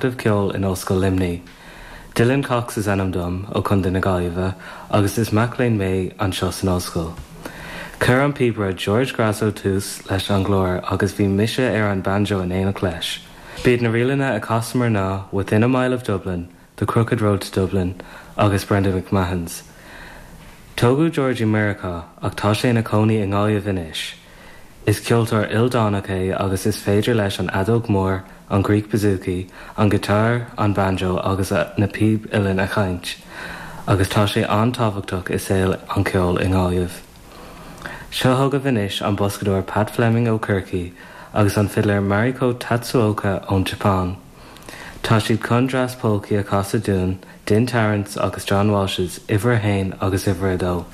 Acadamh Ceoil in Ollscoil Luimnigh. Dylan Cox is ainm dom, ó Chontae na Gaillimhe, agus is mac léinn mé anseo san ollscoil. Chuir an píobaire George Grasso tús leis an gclár agus bhí mise ar an banjo in éineacht leis. B'iad na ríleanna a chasamar ná Within a Mile of Dublin, The Crooked Road to Dublin agus Brenda McMahon's. Tógadh George i Meiriceá ach tá sé ina chónaí i nGaillimh anois. Is ceoltóir ildánach é agus is féidir leis an fheadóg mhór, an Greek bouzouki, an giotár, an banjo agus na píb uilleann a sheinnt, agus tá sé an-tábhachtach i saol an cheoil i nGaillimh. Seo chugaibh anois an boscadóir Pat Fleming ó Chorcaigh agus an fidléir Mariko Tatsuoka ón tSeapáin. Tá siad chun dreas polcaí a chasadh dúinn, Din Tarrants agus John Walsh's Uimhir a hAon agus Uimhir a Dó.